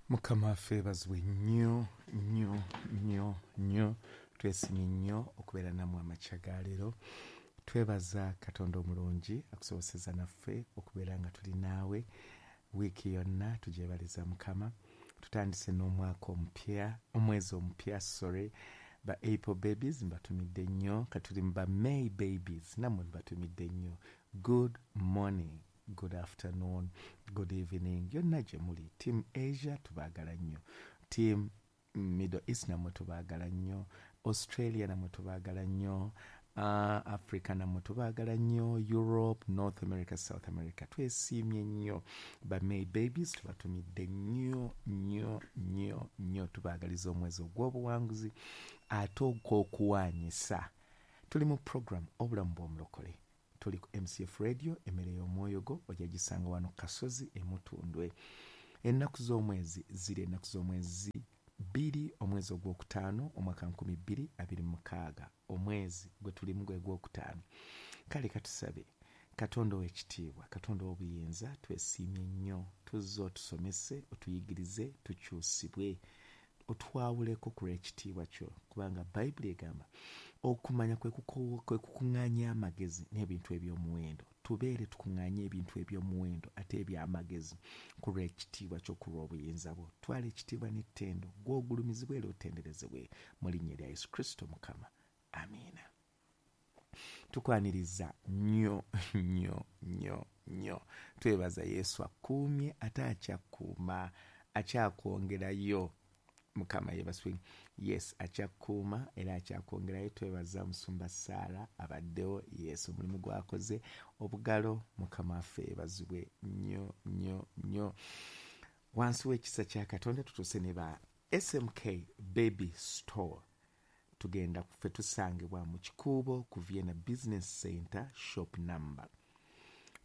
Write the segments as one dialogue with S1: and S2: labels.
S1: Mukama waffe yeebazibwe nnyo nnyo nnyo nnyo. Twesimye nnyo okubeera nammwe amakya ga leero. Twebaza Katonda omulungi akusoboseza naffe okubeera nga tuli naawe wiiki yonna, tugyebaliza Mukama. Tutandise n'omwaka omupya, omwezi omupya, sorry. Ba April babies mbatumidde nnyo, katuli mu ba May babies nammwe mbatumidde nnyo. Good morning, good afternoon, good evening yonna gye muli. Team Asia tubaagala nnyo, team Middle East nammwe tubaagala nnyo, Australia nammwe tubaagala nnyo, Africa nammwe tubaagala nnyo, Europe, North America, South America, twesiimye nnyo. Ba May babies tubatumidde nnyo nnyo nnyo nnyo, tubaagaliza omwezi ogw'obuwanguzi ate ogw'okuwaanyisa. Tuli mu program Obulamu bw'Omulokole, tuli ku MCF Radio, emmere y'omwoyo gwo ojja gisanga wano Kasozi Emutundwe. Ennaku z'omwezi ziri ennaku z'omwezi 2 omwezi ogwokutaano omwaka 2026, omwezi gwe tulimu gwe gwokutaano. Kale katusabe. Katonda ow'ekitiibwa, Katonda ow'obuyinza, twesiimye nnyo, tuzze otusomese, otuyigirize, tukyusibwe, otwawuleko ku lw'ekitiibwa kyo, kubanga Bayibuli egamba okumanya kwe kukuŋŋaanya amagezi n'ebintu eby'omuwendo. Tubeere tukuŋŋaanye ebintu eby'omuwendo ate eby'amagezi ku lw'ekitiibwa kyo, ku lw'obuyinza bwo. Twala ekitiibwa n'ettendo, gw'ogulumizibwe era otenderezebwe mu linnya lya Yesu Kristo Mukama, amiina. Tukwaniriza nnyo nnyo nnyo nnyo. Twebaza Yesu akuumye ate akyakuuma, akyakwongerayo. Mukama yeebazibwe. Yes, akyakuuma era akyakwongerayo. Twebaza Musumba Saara abaddewo. Yes, omulimu gwakoze obugalo. Mukama waffe yeebazibwe nnyo nnyo nnyo. Wansi w'ekisa kya Katonda tutuuse ne ba SMK Baby Store. Tugenda ffe tusangibwa mu Kikuubo ku Vienna Business Center, shop number,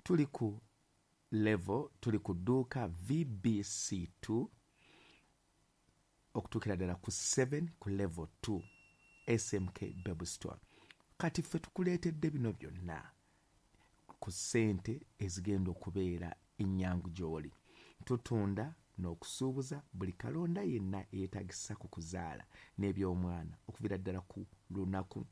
S1: tuli ku level, tuli ku dduuka VBC2 okutuukira ddala ku 7 ku level 2, SMK Baby Store. Kati ffe tukuleetedde bino byonna ku ssente ezigenda okubeera ennyangu gy'oli. Tutunda n'okusuubuza buli kalonda yenna eyeetagisa ku kuzaala n'ebyomwana, okuviira ddala ku lunaku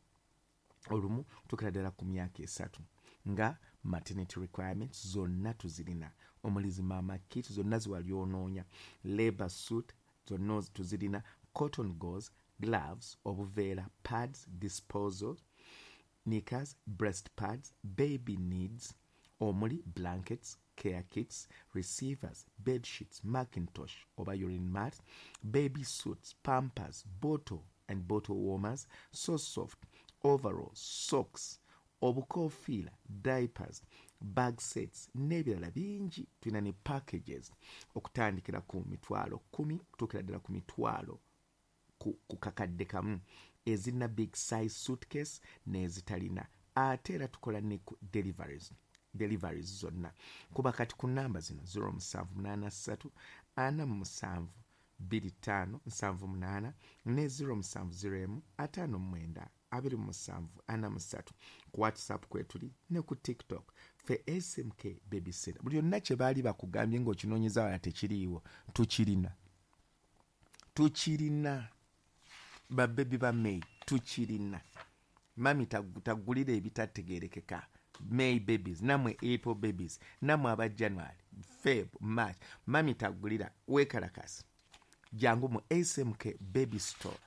S1: olumu kutuukira ddala ku myaka 3, nga maternity requirements zonna tuzirina, omuli zi mama kit zonna ziwali onoonya, labor suit zonna tuzirina, cotton gauze, gloves, obuveera, pads, disposal, knickers, breast pads, baby needs omuli blankets, care kits, receivers, bed sheets, mackintosh oba urine mat, baby suits, pampers, bottle and bottle warmers, so soft, overalls, socks, obukofiira, diapers, bag sets n'ebirala bingi. Tulina ne packages okutandikira ku 100,000 okutuukira ddala ku mitwalo ku 1,000, ezirina big size suitcase n'ezitalina. Ate era tukola ne ku deliveries zonna. Kuba kati ku namba zino: 0783 47 25 78 ne 0701 59 27 43. Ku WhatsApp kwetuli ne ku TikTok. Fe SMK Baby Center, buli yonna kye baali bakugambye ng'okinoonyeza wala tekiriiwo, tukirina, tukirina. Babebi ba May tukirina. Mami tagulira ebitategerekeka. May babies namwe, April babies namwe, aba January, Feb, March, mami tagulira, weekalakasi, jangu mu SMK Baby Store.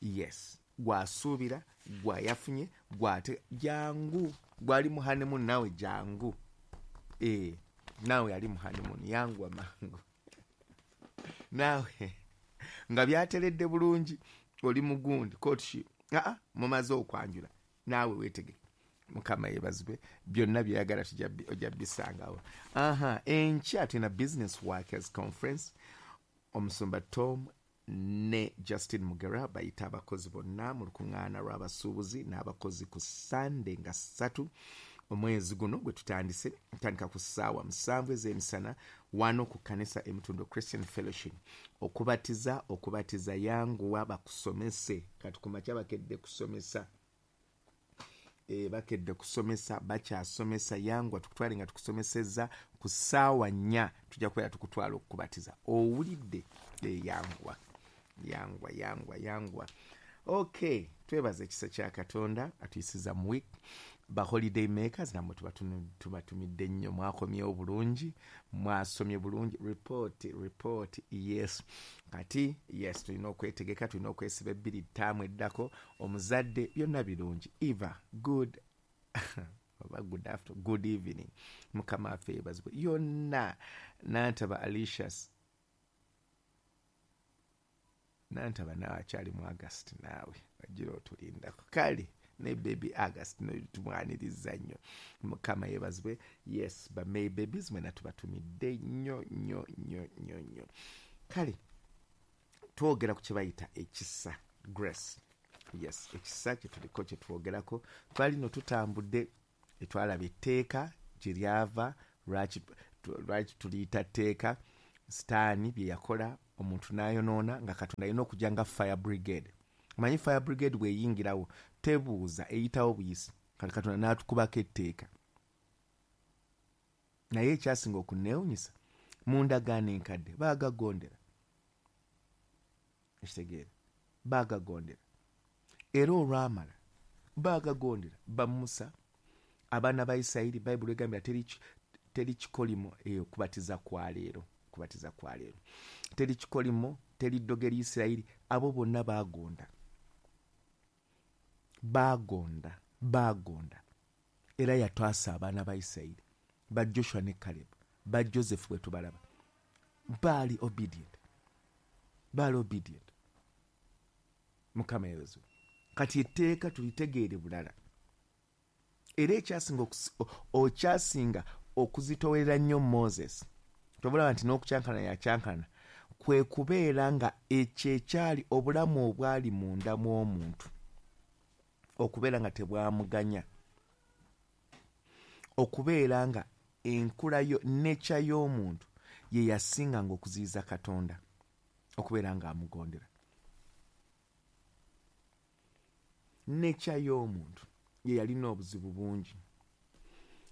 S1: Yes, gwasuubira gwayafunye gwate, jangu. Gwali mu honeymoon naawe jangu. E, naawe ali mu honeymoon, yanguwa mangu naawe nga byateredde bulungi, oli mugundi courtship, aa mumaze okwanjula, naawe weetegeke. Mukama yebazibwe, byonna byeyagala ojja bisangawo. Aha, enkya tulina business workers conference. Omusumba Tom ne Justin Mugera bayita abakozi bonna mu lukuŋŋaana lw'abasuubuzi n'abakozi ku Sande nga 3 omwezi guno gwe tutandise, tandika ku ssaawa 7 ez'emisana wano ku kanisa Emutundo Christian Fellowship. Okubatiza, yanguwa bakusomese. Kati kumakya bakedde kusomesa. Bakedde kusomesa, bakyasomesa. Yangwa tukutwale nga tukusomesezza ku ssaawa 4 tujja kubeera tukutwala okukubatiza. Owulidde? Yangwa, yangwa, yangwa, yangwa. Okay, twebaza ekisa kya Katonda atuyisiza mu week. Ba holiday makers namwe tubatumidde nnyo, mwakomyewo bulungi, mwasomye bulungi, report, report, yes. Kati yes, tulina okwetegeka, tulina okwesiba 2 ttaamu eddako, omuzadde, byonna birungi. Eva, good oba good after, good evening. Mukama affe yeebazibwe. Yonna Nantaba Alicious, Nantaba naawe akyali mu August, naawe wagira otulindako. Kale ne baby August no tumwaniriza nnyo. Mukama yeebazibwe. Yes, ba May babies mwena tubatumidde nnyo nnyo nnyo nnyo nnyo. Kale twogera ku kye bayita ekisa, grace. Yes, ekisa kye tuliko kye twogerako. Twali no tutambudde, twalaba etteeka gye lyava, lwaki tuliyita tteeka, Sitaani bye yakola omuntu n'ayonoona, nga Katonda alina okujja nga fire brigade. Omanyi fire brigade bw'eyingirawo tebuuza, eyitawo buyisi. Kati Katonda n'atukubako etteeka. Naye ekyasinga okunneewunyisa, mu ndagaano enkadde baagagondera. Ekitegeera, baagagondera. Era olwamala baagagondera ba Musa, abaana ba Isirayiri. Bayibuli egambira teri kikolimo eyo kubatiza kwa leero, kubatiza kwa leero. Teri kikolimo, teri ddogo eri Isirayiri. Abo bonna baagonda, baagonda, baagonda. Era yatwasa abaana ba Isirayiri, ba Joshua ne Caleb, ba Joseph bwe tubalaba, baali obedient, baali obedient. Mukama yeebazibwe. Kati etteeka tulitegeere bulala. Era ekyasinga okuzitowerera nnyo Moses, tobulaba nti n'okukyankana yakyankana, kwe kubeera nga ekyo ekyali obulamu obwali munda mw'omuntu okubeera nga tebwamuganya, okubeera nga enkula yo, nature y'omuntu ye yasinganga okuziyiza Katonda okubeera nga amugondera. Nature y'omuntu ye yalina obuzibu bungi,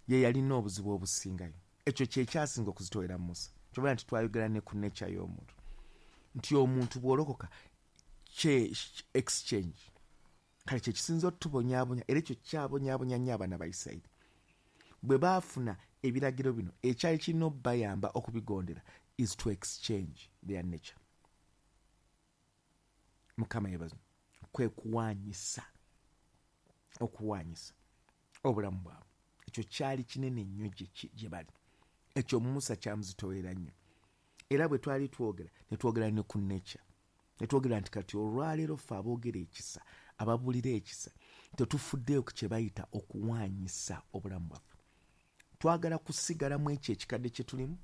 S1: ye yalina obuzibu obusingayo. Ekyo kye kyasinga okuzitowera Musa. Kyobala nti twayogera ne ku nature y'omuntu, nti omuntu bw'olokoka kye exchange. Kale kye kisinza otubonyaabonya, era ekyo kyabonyaabonya nnyo abaana ba Isirayiri. Bwe baafuna ebiragiro bino, ekyali kirina obbayamba okubigondera is to exchange their nature. Mukama yeebazibwe. Kwe kuwaanyisa, okuwaanyisa obulamu bwabwe. Ekyo kyali kinene nnyo gye bali. Ekyo Musa kyamuzitowera nnyo. Era bwe twali twogera, ne twogera ne ku nature. Ne twogera nti kati olwaleero ffe aboogera ekisa, ababuulira ekisa, tetufuddeyo ku kye bayita okuwaanyisa obulamu bwaffe. Twagala kusigala mu ekyo ekikadde kye tulimu,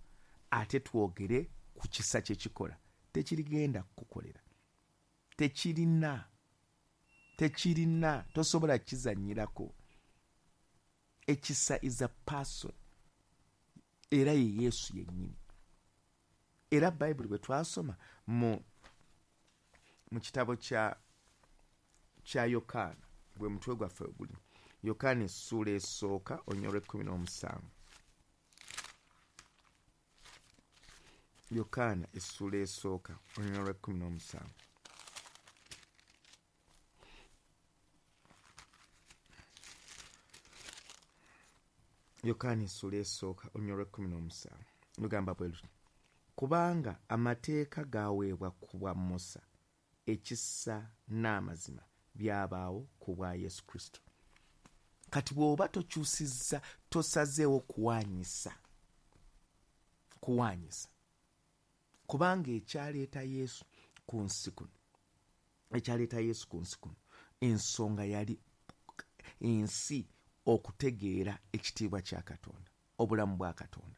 S1: ate twogere ku kisa kye kikola. Tekirigenda kukukolera. Tekirina, tekirina, tosobola kizannyirako. Ekisa is a person. Era ye Yesu yennyini. Era Bayibuli bwe twasoma mu kitabo kya Yokaana, gwe mutwe gwaffe oguli Yokaana essuula esooka onyolwa 17. Yokaana essuula esooka onyolwa 17. Yokaana essuula esooka onyolwa 17 lugamba bwe luti: kubanga amateeka gaaweebwa ku bwa Musa, ekisa n'amazima byabaawo ku bwa Yesu Kristo. Kati bw'oba tokyusizza, tosazeewo kuwaanyisa, kuwaanyisa, kubanga ekyaleeta Yesu ku nsi kuno, ekyaleeta Yesu ku nsi kuno, ensonga yali ensi okutegeera ekitiibwa kya Katonda, obulamu bwa Katonda.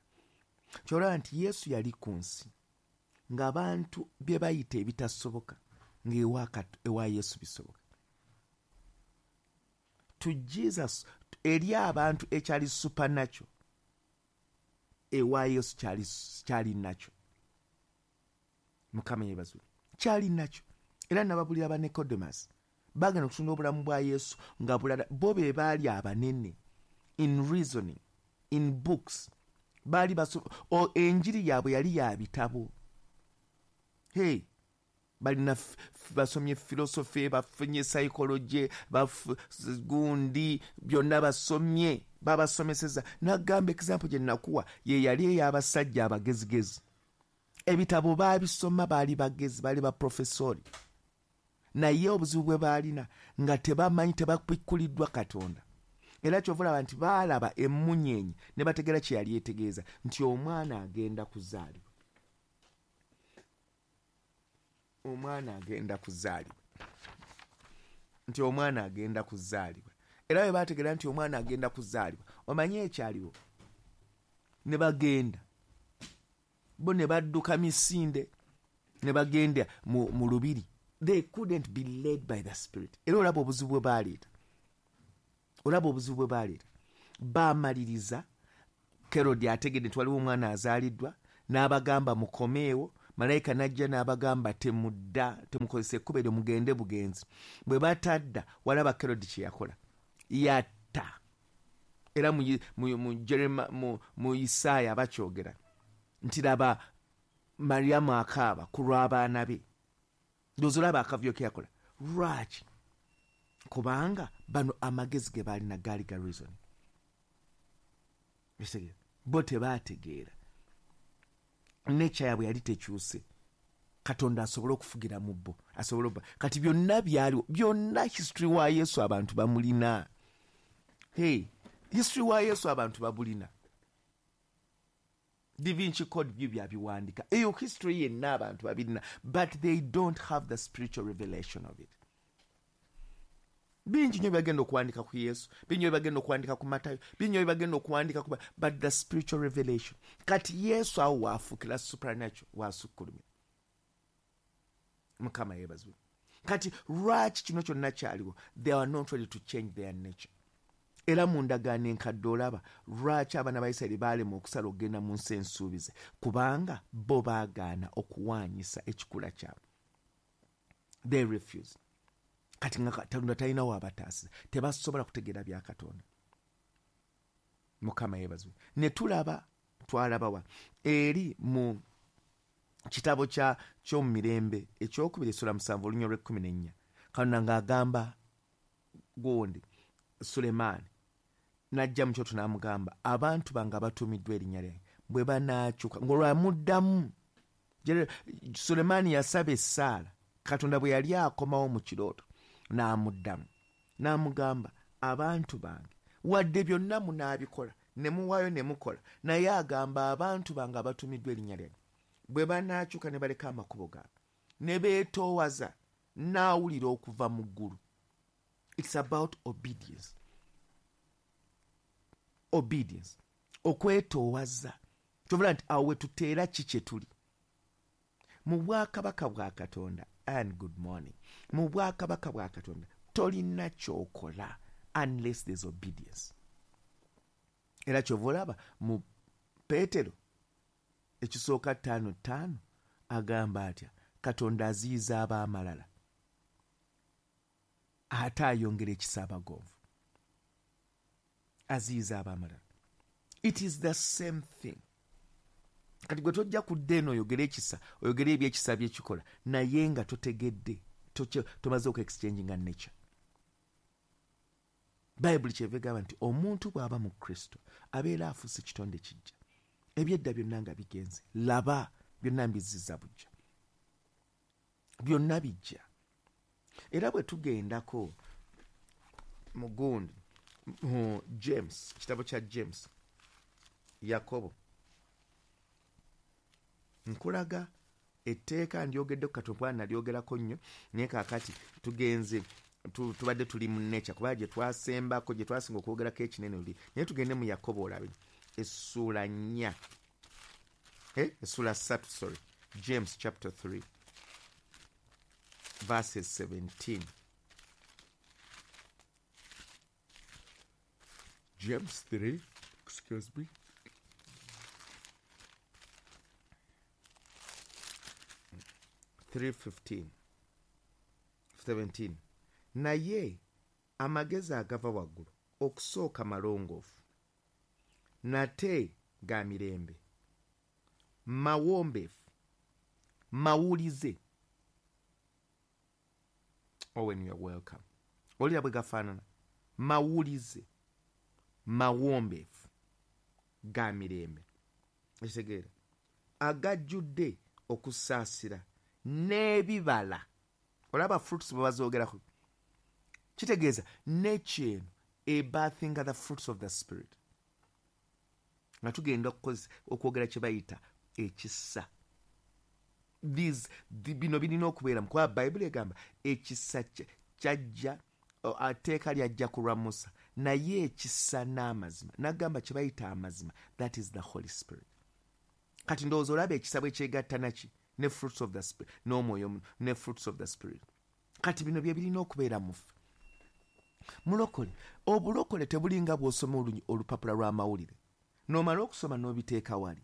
S1: Ky'olaba nti Yesu yali ku nsi ng'abantu bye bayita ebitasoboka ng'ewa Yesu bisoboka. To Jesus, eri abantu ekyali supernatural, ewa Yesu kyali nakyo. Mukama yeebazibwe, kyali nakyo. Era nababulira ba Nicodemus. Bagenda okutunula obulamu bwa Yesu nga bulala. Bo be baali abanene in reasoning, in books. Baali enjiri yaabwe yali ya bitabo. Hey, balina basomye philosophy, bafunye psychology, gundi byonna basomye, babasomeseza. Nagamba example gye nakuwa ye yali ey'abasajja abagezigezi. Ebitabo baabisoma, baali bagezi, baali baprofesori. Naye obuzibu bwe baalina nga tebamanyi, tebabikkuliddwa Katonda. Era kyova olaba nti baalaba emmunyeenye ne bategeera kye yali etegeeza nti omwana agenda kuzaalibwa. Omwana agenda kuzaalibwa. Nti omwana agenda kuzaalibwa. Era bwe baategeera nti omwana agenda kuzaalibwa, omanyi ekyaliwo? Ne bagenda. Bo ne badduka misinde, ne bagenda mu lubiri. They couldn't be led by the Spirit. Era olaba obuzibu bwe baaleeta. Olaba obuzibu bwe baaleeta. Baamaliriza, Kerodi ategedde nti waliwo omwana azaaliddwa, n'abagamba mukomeewo. Malayika n'ajja n'abagamba temudda, temukozesa ekkubo eryo, mugende bugenzi. Bwe batadda, walaba Kerodi kye yakola. Yatta. Era mu Isaaya bakyogera nti laba Mariyamu akaaba ku lw'abaana be. Ndowooza olaba akavuyo ke yakola. Lwaki? Kubanga bano amagezi ge baalina gaali ga reason. Bo tebaategeera. Nature yaabwe yali tekyuse. Katonda asobole okufugira mu bo. Asobole obba. Kati byonna byaliwo. Byonna history wa Yesu abantu bamulina. Hey, history wa Yesu abantu babulina. Da Vinci Code byo byabiwandika. Eyo history yenna abantu babirina. But they don't have the spiritual revelation of it. Bingi nnyo byebagenda okuwandika ku Yesu, bingi nnyo byebagenda okuwandika ku Matayo, bingi nnyo byebagenda okuwandika ku, but the spiritual revelation. Kati Yesu awo waafuukira supernatural, waasukkulumira. Mukama yeebazibwe. Kati lwaki kino kyonna kyaliwo? They are not ready to change their nature. Era mu ndagaano enkadde olaba lwaki abaana ba Isirayiri baalema okusala okugenda mu nsi ensuubize, kubanga bo baagaana okuwaanyisa ekikula kyabwe. They refuse. Kati nga Katonda talina w'abataasiza, tebasobola kutegeera bya Katonda. Mukama yeebazibwe. Ne tulaba, twalaba wa? Eri mu kitabo ky'omu mirembe ekyokubiri essula 7 olunya olw'ekkumi n'ennya. Katonda ng'agamba gundi Sulemaani n'ajja mu kyoto n'amugamba, abantu bange abatuumiddwa erinnya lyange bwe banaakyuka, ng'olwamuddamu. Sulemaani yasaba essaala, Katonda bwe yali akomawo mu kirooto n'amuddamu n'amugamba, abantu bange wadde byonna munaabikola ne muwaayo ne mukola, naye agamba abantu bange abatuumiddwa erinnya lyange bwe banaakyuka ne baleka amakubo gaabwe ne beetoowaza, n'awulira okuva mu ggulu. It's about obedience. Obedience. Okwetoowaza. Kyovula nti awo we tuteera ki kye tuli. Mu bwakabaka bwa Katonda, and good morning. Mu bwakabaka bwa Katonda tolina ky'okola unless there's obedience. Era kyova olaba mu Peetero ekisooka 5:5 agamba atya, Katonda aziyiza ab'amalala ate ayongera ekisa abagonvu. Aziyiza ab'amalala. It is the same thing. Kati gwe tojja kudda eno oyogere ekisa, oyogere ebyekisa byekikola, naye nga totegedde, tomaze oku-exchanginga nature. Bayibuli kyeva egamba nti omuntu bw'aba mu Kristo abeera afuuse kitonde kijja. Ebyedda byonna nga bigenze, laba byonna mbizizza bujja. Byonna bijja. Era bwe tugendako mu gundi, mu James, kitabo kya James, Yakobo, nkulaga etteeka ndyogeddeko katono kubanga nalyogerako nnyo, naye kaakati tugenze tubadde tuli mu nature kuba gye twasembako, gye twasinga okwogerako ekinene luli, naye tugende mu Yakobo olabe essuula 4, essuula 3, sorry, James chapter 3 verses 17. James 3, excuse me. 3:15, 17. Naye amagezi agava waggulu okusooka malongoofu, nate ga mirembe, mawombeefu, mawulize. Owen, you are welcome. Olira bwe gafaanana, mawulize, mawombeefu, ga mirembe. Ekitegeera, agajjudde okusaasira n'ebibala. Olaba fruits bwe bazoogerako, kitegeeza nature eno ebirthinga the fruits of the spirit. Nga tugenda okwogera kye bayita ekisa. Bino birina okubeera mu, kuba Bayibuli egamba ekisa kyajja, etteeka lyajja ku lwa Musa, naye ekisa n'amazima. N'agamba kye bayita amazima, that is the Holy Spirit. Kati ndowooza olaba ekisa bwe kyegatta naki ne fruits of the spirit, n'omwoyo ne fruits of the spirit. Kati bino bye birina okubeera mu ffe. Mulokole, obulokole tebulinga bw'osoma olupapula lw'amawulire n'omala okusoma n'obiteeka wali.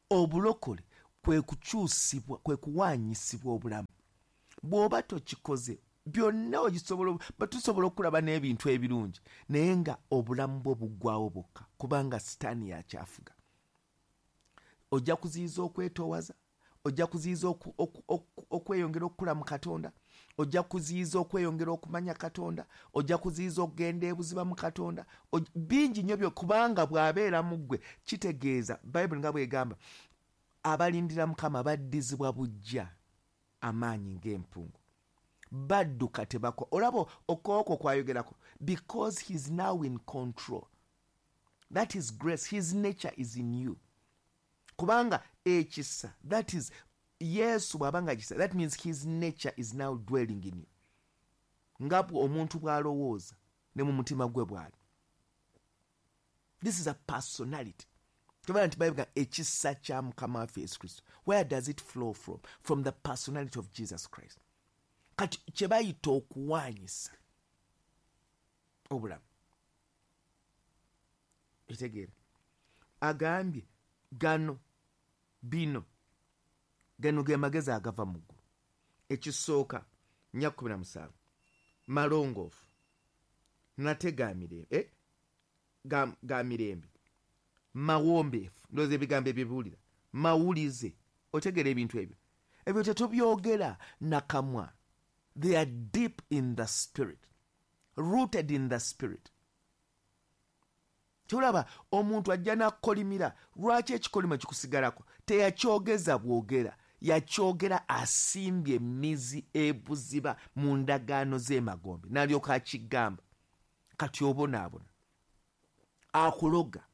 S1: Obulokole kwe kukyusibwa, kwe kuwaanyisibwa obulamu. Bw'oba tokikoze byonna tusobola okulaba n'ebintu ebirungi, naye nga obulamu bwo buggwawo bwokka, kubanga sitaani yakyafuga. Ojja kuziyiza okwetoowaza, ojja kuziyiza okweyongera okukula mu Katonda, ojja kuziyiza okweyongera okumanya Katonda, ojja kuziyiza okugenda ebuziba mu Katonda. Bingi nnyo byo, kubanga bw'abeera mu ggwe kitegeeza Bayibuli nga bw'egamba, abalindira Mukama baddizibwa buggya amaanyi ng'empungu, badduka tebakwa. Olaba okooko kwayogerako, because he is now in control. That is grace, his nature is in you. Kubanga ekisa, that is Yesu bw'abanga kisa, that means his nature is now dwelling in you. Nga omuntu bw'alowooza ne mu mutima gwe bw'ali. This is a personality. Tubala nti Bayibuli ekisa kya Mukama waffe Yesu Kristo. Where does it flow from? From the personality of Jesus Christ. Kati kye bayita okuwaanyisa obulamu. Ekitegeera, agambye gano bino, gano ge magezi agava mu ggulu. Ekisooka 4:17, malongoofu nate ga mirembe, ga mirembe, mawombeefu. Ndowooza ebigambo ebyo biwulira, mawulize. Otegeera ebintu ebyo, ebyo tetubyogera nakamwa. They are deep in the spirit, rooted in the spirit. Kyolaba omuntu ajja n'akolimira, lwaki ekikolimo kikusigalako? Teyakyogeza bwogera, yakyogera asimbye emizi ebuziba mu ndagaano z'emagombe, n'alyoka akigamba. Kati obonaabona, akuloga,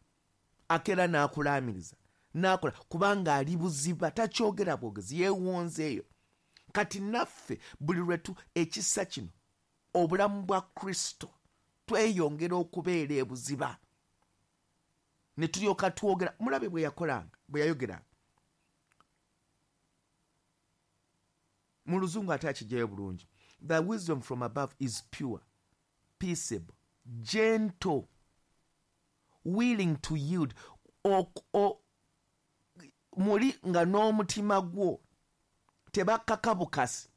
S1: akeera n'akulaamiriza, n'akola, kubanga ali buziba, takyogera bwogezi, yeewonzeeyo. Kati naffe buli lwetu ekisa kino, obulamu bwa Kristo, tweyongera okubeera ebuziba, ne tulyoka twogera. Mulabe bwe yakolanga, bwe yayogeranga. Mu luzungu ate akijjayo bulungi. The wisdom from above is pure, peaceable, gentle, willing to yield. Muli nga n'omutima gwo tebakkaka bukasi,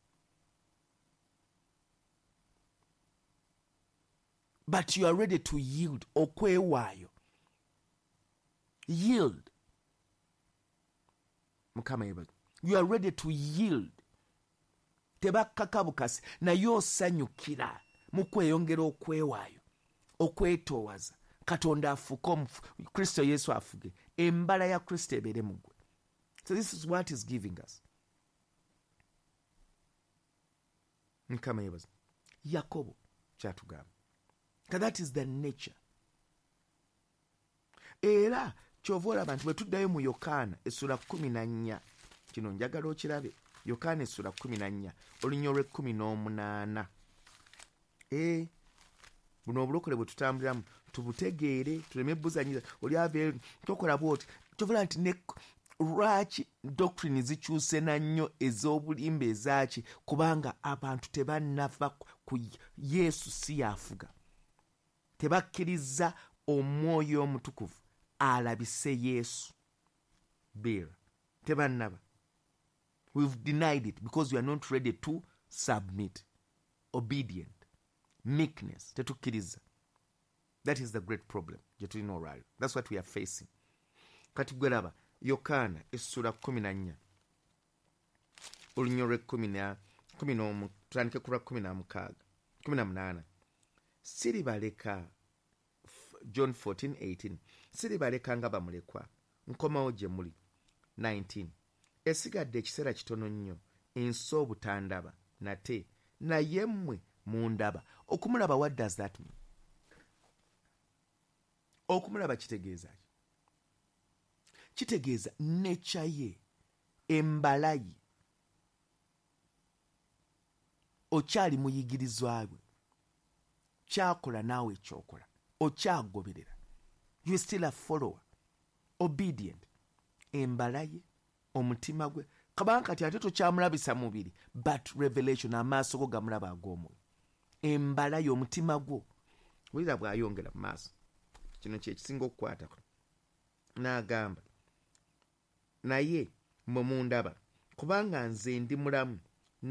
S1: but you are ready to yield, okwewaayo. Yield. Mukama yeebazibwe. You are ready to yield. Tebakkaka bukasi, naye osanyukira mu kweyongera okwewaayo, okwetoowaza. Katonda afuke, Kristo Yesu afuge, embala ya Kristo ebeere mu ggwe. So this is what is giving us. Mukama yeebazibwe. Yakobo kyatugamba. That is the nature. Era kyova olaba nti bwe tuddayo mu Yokaana essula 14, kino njagala okirabe. Yokaana essula 14, olunya olw'e18. Buno obulokole bwe tutambuliramu tubutegeere, tuleme buzanyiza. Oli ava tokola bw'oti. Kyova olaba nti ne lwaki doctrine zikyuse na nnyo ez'obulimba ezaaki, kubanga abantu tebannava ku Yesu si yafuga. Tebakkiriza omwoyo omutukuvu alabise Yesu. Bill, tebannaba. We've denied it because we are not ready to submit. Obedient, meekness, tetukkiriza. That is the great problem gye tulina olwaliro. That's what we are facing. Kati gwe laba Yokaana essula 14, olunya olw'ekumi n'omu, tutandike ku lwa 16, 18. Siribaleka, John 14:18, siribaleka nga bamulekwa, nkomawo gye muli. 19, esigadde ekiseera kitono nnyo ensi obutandaba nate, naye mmwe mundaba. Okumulaba, what does that mean? Okumulaba kitegeeza ki? Kitegeeza nature ye, embala ye. Okyali muyigirizwa bwe, kyakola naawe ekyokola, okyagoberera. You still a follower, obedient. Embala ye, omutima gwe, kabanga kati ate tokyamulabisa mubiri, but revelation, amaaso go gamulaba ag'omwoyo, embala ye, omutima gwo. Wulira bw'ayongera mu maaso, kino kyekisinga okukwatako. N'agamba, naye mmwe mundaba, kubanga nze ndi mulamu.